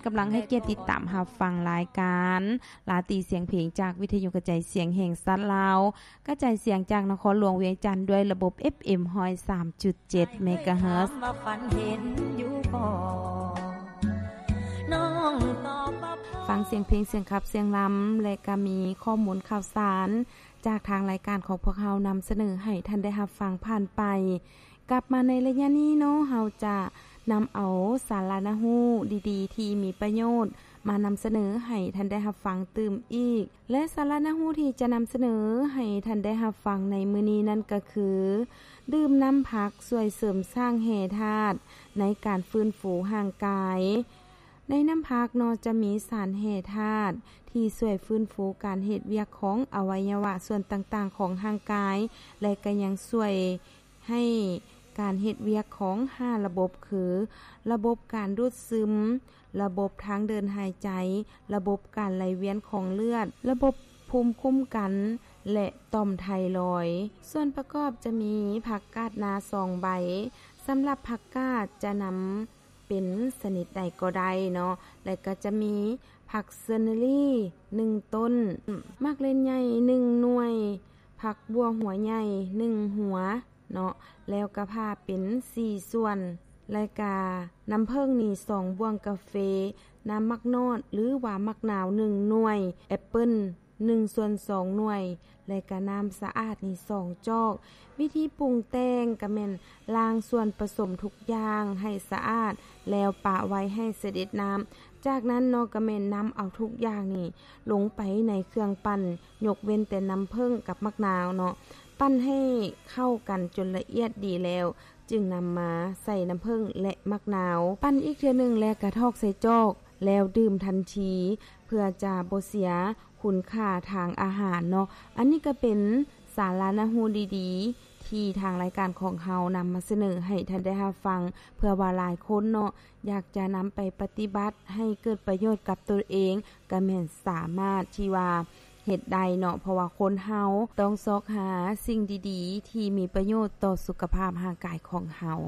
ກຳລັງໃຫ້ກຽດຕິດຕາມຮັບຟັງລາຍການລາຕີສຽງເພງ ຈາກວິທະຍຸກະຈາຍສຽງແຫ່ງຊາດລາວ ກະຈາຍສຽງຈາກນະຄອນຫຼວງວຽງຈັນ ດ້ວຍລະບົບ ເອັຟເອັມ ຮ້ອຍສາມຈຸດເຈັດ ເມກາເຮີດ. ຟັງສຽງເພງ, ສຽງຂັບ, ສຽງລຳ ແລະ ກະມີຂໍ້ມູນຂ່າວສານ ຈາກທາງລາຍການຂອງພວກເຮົານຳສະເໜີໃຫ້ທ່ານໄດ້ຮັບຟັງຜ່ານໄປ. ກັບມາໃນໄລຍະນີ້ເນາະ, ເຮົາຈະນຳເອົາສາລະນະຮູ້ດີໆ ທີ່ມີປະໂຫຍດ ມານຳສະເໜີໃຫ້ທ່ານໄດ້ຮັບຟັງຕື່ມອີກ. ແລະ ສາລະນະຮູ້ທີ່ຈະນຳສະເໜີໃຫ້ທ່ານໄດ້ຮັບຟັງໃນມື້ນີ້ນັ້ນກໍຄື ດື່ມນ້ຳຜັກຊ່ວຍເສີມສ້າງແຮ່ທາດໃນການຟື້ນຟູຮ່າງກາຍ. ໃນນ້ຳຜັກເນາະ ຈະມີສານແຮ່ທາດທີ່ຊ່ວຍຟື້ນຟູການເຮັດວຽກຂອງອະໄວຍະວະສ່ວນຕ່າງໆຂອງຮ່າງກາຍ ແລະ ກໍຍັງຊ່ວຍໃຫ້ການເຮັດວຽກຂອງຫ້າລະບົບ ຄື ລະບົບການດູດຊຶມ, ລະບົບທາງເດີນຫາຍໃຈ, ລະບົບການໄຫຼວຽນຂອງເລືອດ, ລະບົບພູມຄຸ້ມກັນ ແລະ ຕ່ອມໄທຣອຍ. ສ່ວນປະກອບຈະມີຜັກກາດໜ້າສອງໃບ. ສຳລັບຜັກກາດຈະນຳ ເປັນຊະນິດໃດກໍໄດ້ເນາະ ແລະ ກໍຈະມີຜັກເຊີນເນີຣີໜຶ່ງຕົ້ນ, ໝາກເລັ່ນໃຫຍ່ໜຶ່ງໜ່ວຍ, ຜັກບົ່ວຫົວໃຫຍ່ໜຶ່ງຫົວເນາະ ແລ້ວກະຜ່າເປັນສີ່ສ່ວນ, ແລະ ກະນ້ຳເຜິ້ງນີ້ສອງບ່ວງກາເຟ, ນ້ຳໝາກນອດ ຫຼືວ່າໝາກນາວໜຶ່ງໜ່ວຍ, ແອັບເປິ້ນ ໜຶ່ງສ່ວນສອງໜ່ວຍ ແລະກະນ້ຳສະອາດນີ້ສອງຈອກ. ວິທີປຸງແຕ່ງກະແມ່ນລ້າງສ່ວນປະສົມທຸກຢ່າງໃຫ້ສະອາດ ແລ້ວປະໄວ້ໃຫ້ສະເດັດນ້ຳ. ຈາກນັ້ນເນາະ ກະແມ່ນນຳເອົາທຸກຢ່າງນີ້ລົງໄປໃນເຄື່ອງປັ່ນ ຍົກເວັ້ນແຕ່ນ້ຳເຜິ້ງກັບໝາກນາວເນາະ. ປັ່ນໃຫ້ເຂົ້າກັນຈົນລະອຽດດີແລ້ວ ຈຶ່ງນຳມາໃສ່ນ້ຳເຜິ້ງ ແລະ ໝາກນາວ. ປັ່ນອີກເທື່ອໜຶ່ງ ແລະ ກະຖອກໃສ່ຈອກ ແລ້ວດື່ມທັນທີ ເພື່ອຈະບໍ່ເສຍຄຸນຄ່າທາງອາຫານເນາະ. ອັນນີ້ກະເປັນສາລະນະຮູ້ດີໆ ທີ່ທາງລາຍການຂອງເຮົານຳມາສະເໜີໃຫ້ທ່ານໄດ້ຮັບຟັງ ເພື່ອວ່າຫຼາຍຄົນເນາະ ຢາກຈະນຳໄປປະຕິບັດໃຫ້ເກີດປະໂຫຍດກັບຕົນເອງ ກະແມ່ນສາມາດທີ່ວ່າ ເຮັດໄດ້ເນາະ ເພາະວ່າຄົນເຮົາຕ້ອງຊອກຫາສິ່ງດີໆ ທີ່ມີປະໂຫຍດຕໍ່ສຸຂະພາບຮ່າງກາຍຂອງເຮົາ.